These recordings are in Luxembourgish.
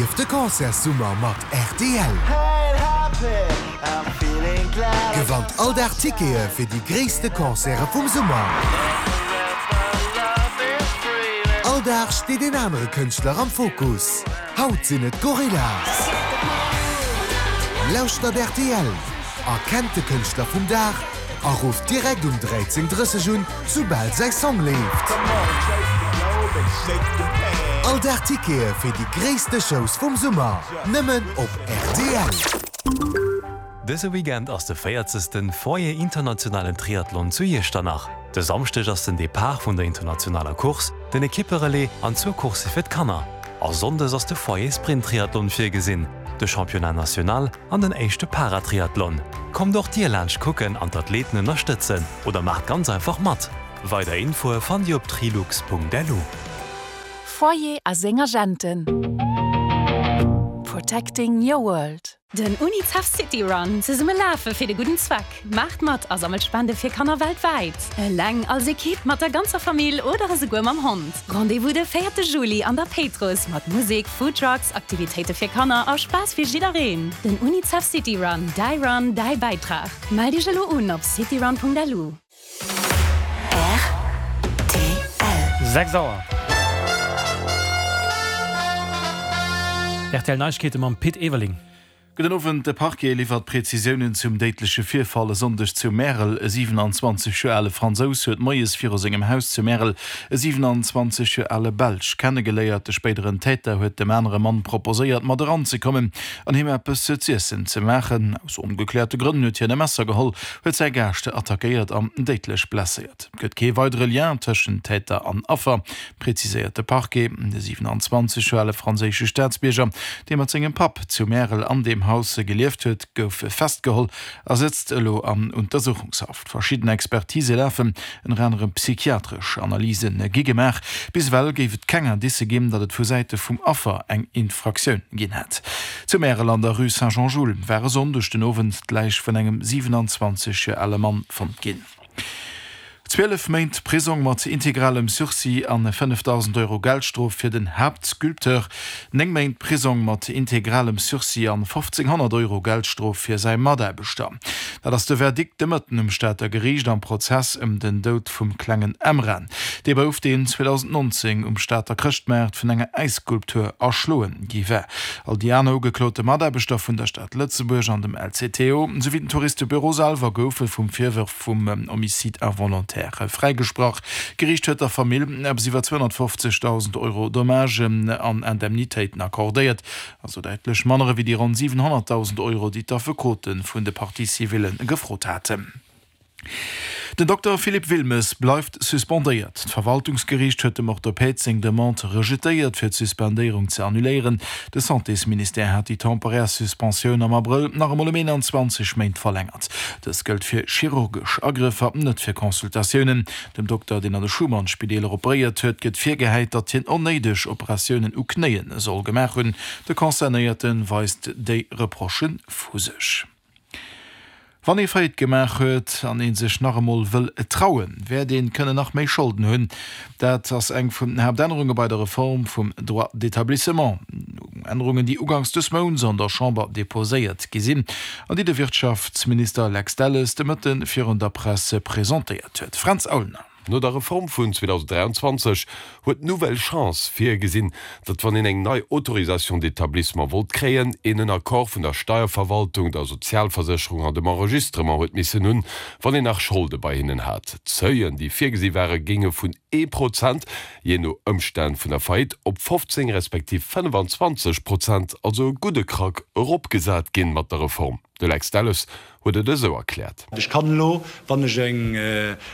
Erlieft de Concertssummer mat rtl! Gewannt all Dag Tickete fir déi gréisste Concerte vum Summer! All Dag steet een anere Kënschtler am Fokus. Haut sinn et d'Gorillaz! Lauschtert rtl, erkennt de Kënschtler vum Dag a rufft direkt um 13:30 un, soubal säi Song leeft. All Dag Tickete fir déi gréisste Shows vum Summer, nëmmen op rtl. Dëse Weekend ass de véierzegsten Foyer Internationalen Triathlon zu Iechternach. De Samschdeg ass den Depart vun der internationaler Course, den Ekipperelais an zwou Coursse fir d'Kanner. A Sonndes ass de Foyer Sprint Triathlon virgesinn, de Championnat National an den éischte Paratriathlon. Kommt och dir laanscht kucken an d'Athleten ënnerstëtzen oder maacht ganz einfach mat! Weider Infoe fannt dir op trilux.lu. Foyer a seng Agenten. Protecting your world. Den Unicef City Run, zesumme lafe fir de gudden Zweck. Maacht mat a sammelt Spende fir Kanner weltwäit. Eleng, als Ekipp, mat der ganzer Famill oder esouguer mam Hond. Rendez-vous de véierte Juli an der Péitruss mat Musek, Foodtrucks, Aktivitéite fir Kanner a Spaass fir jiddereen. Den Unicef City Run, däi Run, däi Bäitrag. Mellt iech elo un op cityrun.lu. Rtl. 6 Auer. Rtl Neiegkeete mam Pit Everling. Gudden Owend. De Parquet liwwert Prezisiounen zum déidleche Virfall e Sonndeg zu Märel. E 27 Joer ale Fransous huet moies viru sengem Haus zu Märel e 27 Joer ale Belsch kennegeléiert. De spéideren Täter huet dem anere Mann proposéiert, mat eranzekommen an him eppes z'iessen ze maachen. Aus ongekläerte Grënn huet hien e Messer geholl, huet säi Gaascht attackéiert an déidlech blesséiert. Et gëtt kee weidere Lien tëschent Täter an Affer, preziséiert de Parquet. De 27 Joer ale franséische Staatsbierger, dee mat sengem Papp zu Märel an deem Haus gelieft huet, gouf festgeholl a sëtzt elo an Untersuchungshaft. Verschidden Expertise lafen, ënner anerem psychiatresch Analyse gi gemaach. Bis ewell géif et keng Indicë ginn, datt et vu Säite vum Affer eng Infraktioun ginn hätt. Zu Märel an der Rue Saint-Jean-Jules war e Sonndeg den Owend d'Läich vun engem 27 Joer ale Mann fonnt ginn. 12 Méint Prisong mat integralem Sursis an 5.000 Euro Geldstrof fir den Haaptsculpteur, 9 Méint Prisong mat integralem Sursis an 1.500 Euro Geldstrof fir säi Mataarbechter. Dat ass de Verdikt de Mëtten um Stater Geriicht am Prozess ëm den Doud vum klengen Emran. Dee Bouf, deen 2019 um Stater Chrëschtmaart vun enger Äisskulptur erschloen gi war. All déi aner ugeklote Mataarbechter vun der Stad Lëtzebuerg an dem LCTO, souwéi den Touristebüro selwer goufe vum Virwërf vum Homicide involontaire fräigesprach. D'Geriicht huet der Famill eppes iwwer 250.000 Euro Dommagen an Indemnitéiten accordéiert, also däitlech manner ewéi déi ronn 700.000 Euro, déi d'Affekote vun de Parties civillen gefrot haten. Den Dokter Philippe Wilmes bleift suspendéiert. D'Verwaltungsgeriicht huet dem Orthopäd seng Demande rejetéiert, fir d'Suspendéierung ze annuléieren. De Santésministère hat déi temporär Suspensioun am Abrëll nach emol ëm 21 Méint verlängert. Dës gëllt fir chirurgesch Agrëffer, net fir Consultatiounen. Dem Dokter, deen an de Schuman-Spideeler operéiert huet, gëtt virgehäit, datt hien onnéideg Operatiounen u Knéie soll gemaach hunn. De Concernéierte weist déi Reprochë vu sech. Wann ee Faillite gemaach huet an ee sech nach emol wëll trauen, wäert ee kënnen nach méi Scholden hunn. Dat ass eng vun den Haaptännerunge bei der Reform vum Droit d'établissement. Ännerungen, déi uganks dës Mounts an der Chamber deposéiert gi sinn an déi de Wirtschaftsminister Lex Delles de Mëtte virun der Press presentéiert huet. Fränz Aulner. No der Reform vun 2023 huet d'Nouvelle Chance virgesinn, datt wann een eng nei Autorisation d'établissement wollt kréien, een en Accord vun der Steierverwaltung, der Sozialversécherung an dem Enregistrement huet missen hunn, wann een nach Scholde bei hinnen hat. D'Seuilen, déi virgesi waren, géinge vun ee Prozent, jee no Ëmstänn vun der Faillite, op 15 respektiv 25 Prozent, also e gudde Krack, eropgesat ginn mat der Reform. De Lex Delles huet et esou erkläert. Ech kann elo, wann ech eng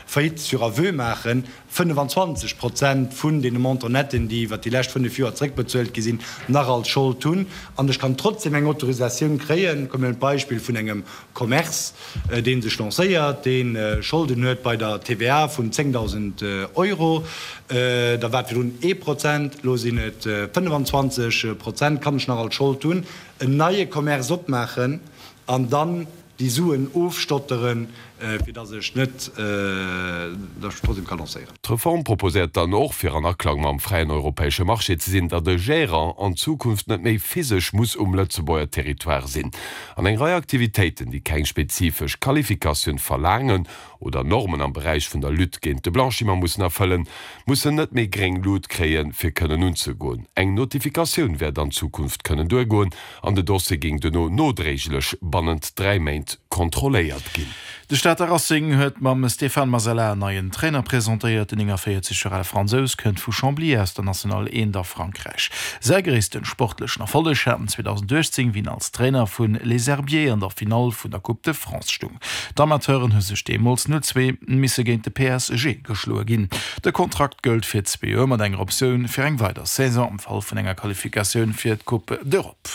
Faillite sur aveu maachen, 25 Prozent vun deene Montant-netten, déi iwwert déi lescht fënnef Joer zréckbezuelt gi sinn, nach als Schold hunn. An ech kann trotzdem eng Autorisatioun kréien. Kommen mir un d'Beispill vun engem Commerce, dee sech lancéiert, dee Scholden huet bei der TVA vun 10.000 Euro. Da war et virdrun ee Prozent, elo sinn et 25 Prozent, kann ech nach als Schold hunn. en neie Commerce opmaachen an dann déi Suen ofstotteren, fir dass ech net, dass ech trotzdem ka lancéieren. D'Reform proposéiert dann och, fir an Aklang mam fräien europäesche Marché ze sinn, datt e Gérant an Zukunft net méi physesch muss um Lëtzebuerger Territoire sinn. An eng Rei Aktivitéiten, déi keng spezifesch Qualifikatioun verlaangen oder Normen am Beräich vun der Lutte géint de Blanchiment mussen erfëllen, mussen net méi gréng Lut kréien, fir kënnen unzegoen. Eng Notifikatioun wäert an Zukunft kënnen duergoen an de Dossier géing duerno nodréiglech bannent 3 Méint kontrolléiert ginn. De Stater Racing huet mam Stéphane Masella en neien Trainer presentéiert. Den 49 Joer ale Fransous kënnt vu Chambly aus der National 1 a Frankräich. Säi gréissten sportlechen Erfolleg hat en 2018, wéi en als Trainer vu Les Herbiers an der Finall vun der Coupe de France stung. D'Amateuren hu sech deemools 0, 2 misse géint de PSG geschloe ginn. De Kontrakt gëllt fir zwee Joer mat enger Optioun fir eng weider Saison am Fall vun enger Qualifikatioun fir d'Coupe d'Europe.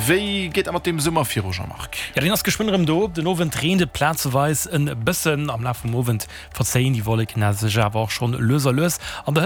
Wéi geet dat mat deem Summer viru, Jean-Marc? Jo, deen ass geschwënn erëm do. Den Owend reent et plazeweis en bëssen. Am Laf vum Owend verzéien déi Wolleken sech awer och schonn lues a lues. An der.